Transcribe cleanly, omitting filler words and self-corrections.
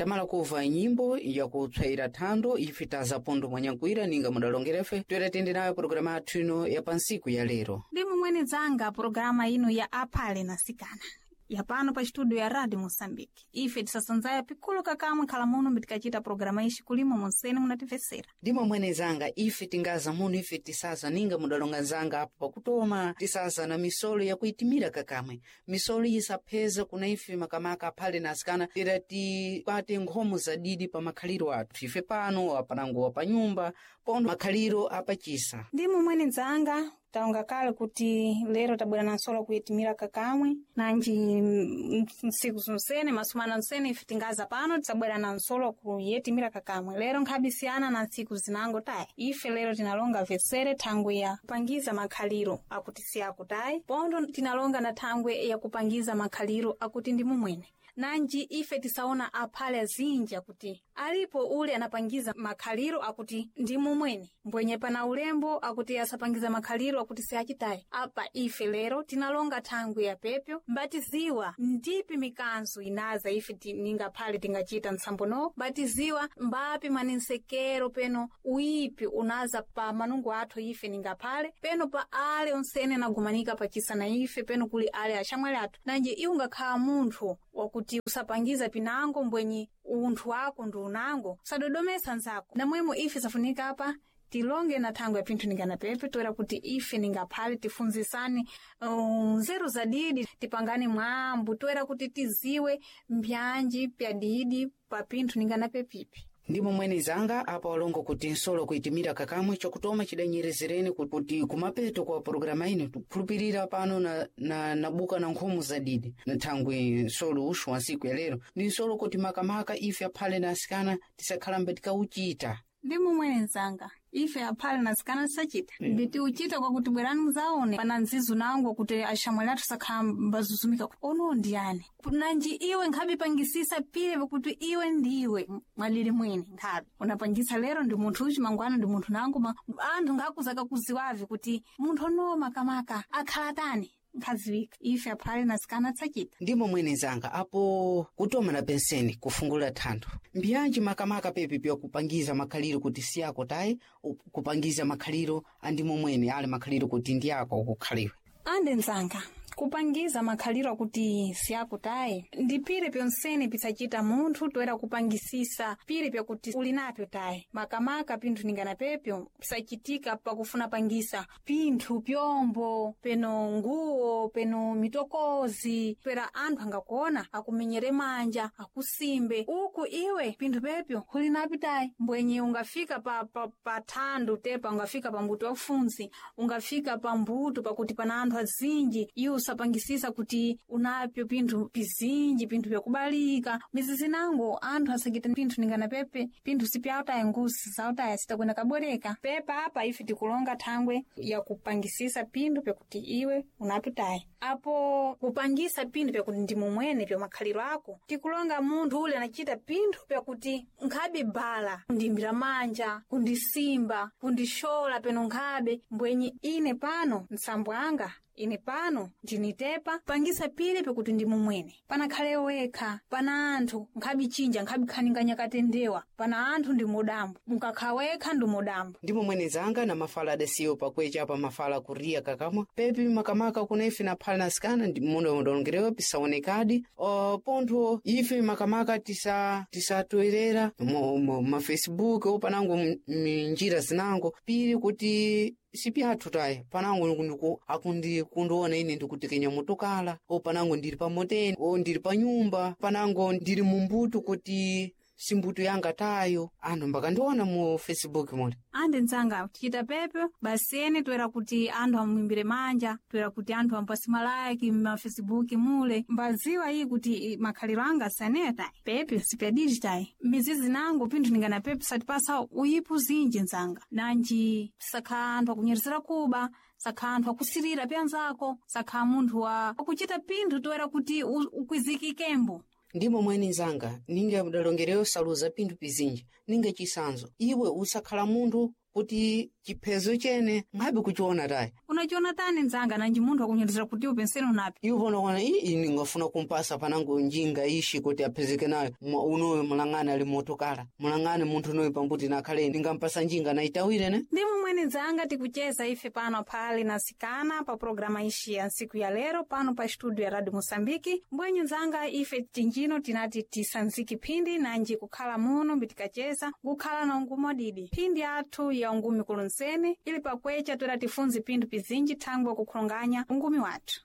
Tamala kuva nyimbo yakupsayira thando ife taza pondo mwanyankwira ninga mudalongerefe toera tende nayo pologalamu athu ino ya pansiku ya lero. Ndi momwene dzanga pologalamu ino ya aphale na sikana yapano pa studio ya Radio Moçambique. Ife tisasanzaya pikulu kakamwe khala muno mbitikachita pologalamu ixi kulimo monsene munatimvesera. Ndi momwene zanga ife tingaza muno ife tisaza ninga mudalonga nzanga apo pakutoma tisaza na misolo yakuitimira kakamwe misolo isapheza kuna ife makamaka aphale na asikana tera tikwate nkhomo zadidi pa makhaliro athu ife pano apanango pa nyumba pondo makhaliro apachisa. Ndi momwene dzanga taonga kale kuti lero tabwera na nsolo kuitimira kakamwe nanji ntsiku zonsene masumana onsene ife tingaza pano tisabwera na nsolo kuyetimira kakamwe lero nkhabisiyana na ntsiku zinango tayi ife lero tinalonga vesere thangwe ya kupangiza makhaliro akuti siyakutayi pondo tinalonga na thangwe ya kupangiza makhaliro akuti ndi mumwene nanji ife tisaona aphale azinji akuti alipo ule anapangiza makhaliro akuti ndi mumwene mbwenye pana ulembo akuti asapangiza makhaliro akuti siachitayi apa ife lero tinalonga thangwi ya pepyo mbatiziwa ndipi mikanzo inaza ife ningaphale tingachita ntsambono mbatiziwa mbapi manensekero peno uipi unaza pa manungo athu ife ningaphale peno pa ale onsene anagumanika pachisa na ife peno kuli ale axamwali athu nanji iwe ungakhala munthu wakuti usapangiza pinango mbwenye unthu wako ndi unango usadodomesa nzako namwemo ife safunika apa tilonge na thangwe ya pinthu ninganapepe toera kuti ife ningaphale tifunzisane nzeru za didi tipangane mwambu toera kuti tiziwe mbyanji pya didi pa pinthu ninganapepipi. Ndi momwene zanga apa walongo kuti nsolo kuitimira kakamwe chakutoma chidanyerezereni kuti kumapeto kwa pologalamu ino tikukhulupirira pano na buka na nkhomo zadidi na thangwi nsolo uxu wa ntsiku ya lero ndi nsolo kuti makamaka ife aphale na asikana tisakhalambe tikauchita. Ndi momwene nzanga ife aphale na asikana tisachita mbitiuchita kwakuti bwerani muzaone pana nzizu nango kuti axamwali athu sakhala mbazuzumika ono ndiyani nanji iwe nkhabe pangisisa pile pakuti iwe ndiwe mwalili mwene nkhabe unapangisa lero ndi munthu uchi mangwana ndi munthu nango anthu nkhakuzaka kuziwavi kuti munthu ono makamaka akhala tani nkhaziwika ife aphale na asikana tisachita. Ndi momwene zanga apo kutoma na penseni kufungula thantho mbyanji makamaka pepi pyakupangiza makhaliro kuti siyako tayi kupangiza makhaliro andi momwene ali makhaliro kuti ndi ako akukhaliwe. Ande nzanga kupangiza makhaliro akuti siyakutayi ndi pire pyonsene pisachita munthu toera kupangisisa pire pyakuti uli napyo tayi makamaka pinthu ningana pepyo pisachitika pakufuna pangisa pinthu pyombo peno nguwo peno mitokozi pera anthu angakuona akumenyere manja akusimbe uku iwe pinthu pepyo uli napyo tayi mbwenye ungafika pa thandu tepa ungafika pa mbuto wafunzi ungafika pa mbuto pakuti pana anthu azinji iwe usapangisisa kuti unapyo pinthu pizinji pinthu pyakubalika mizizi nango anthu asakita pinthu ningana pepe pinthu sipyautaya ngusi zautaya sitakwena kabwereka pepa apa ife tikulonga thangwe yakupangisisa pinthu pyakuti iwe unapyo tayi apo kupangisa pinthu pyakuti ndi mumwene pya makhaliro ako tikulonga munthu ule anachita pinthu pyakuti nkhabe bala kundimbira manja kundisimba kundishola peno nkhabe mbwenye ine pano msambo anga ine pano ndinitepa pangisa pile pakuti ndi mumwene panakhale wekha pana anthu nkhabe chinja nkhabe khaninganya katendewa pana anthu ndi mudambo mukakha wekha ndi mudambo. Ndi momwene zanga na mafala adasiyo pakwecha apa mafala kuriya kakamwa pepi makamaka kuna ife na phale na asikana ndi muno mudalongerewa pisaonekadi pontho ife makamaka tisatoerera ma Facebook opanango minjira zinango pili kuti sipyathu tayi panango akundi kundiona ine ndikutekenya motokala o panango ndili pa moteni o ndili pa nyumba panango ndili mumbuto kuti simbuto yanga tayo anthu mbakandiona mu Facebook mule. Ande nzanga tichita pepyo basi ene toera kuti anthu amuimbire manja toera kuti anthu ampasi malaki ma Facebook mule mbaziwa iyi kuti makhaliro anga saneyo tayi pepyo sipya tayi mizizi nango pinthu ningana pepyo satipasa uyipu zinji nzanga nanji sakha anthu akunyeresera kuba sakha anthu akusirira pyanzako sakha munthu wa akuchita pinthu toera kuti ukwizikikembo. Ndimo mwene nzanga ninga mudalongereyo saluza pinthu pizinji ninga chisanzo iwe usakhala munthu Kuti chiphezo chene nkhabe kuchiona tayi. Unachiona tani nzanga nanji munthu akunyerezera kuti upenseni unapi? Iwo pano ii ningafuna kumpasa panango njinga ishi kuti aphezeke nayo. Unoyo mulang'ani ali motokala, mulang'ani munthu unoyo pambuti nakhale ningampasa njinga naitawire ne. Ndi momwene nzanga tikucheza ife pano phali na sikana pa programa ishi ya ntsiku ya lero pano pa studio ya Radio Moçambique. Mbwenye nzanga ife tinjino tinati tisanziki phindi nanji kukhala muno mbitikacheza ngukhala na ungumo adidi phindi athu ya ungumi kulonsene ili pakwecha toera tifunze pinthu pizinji thangwe kukhulonganya ungumi wathu.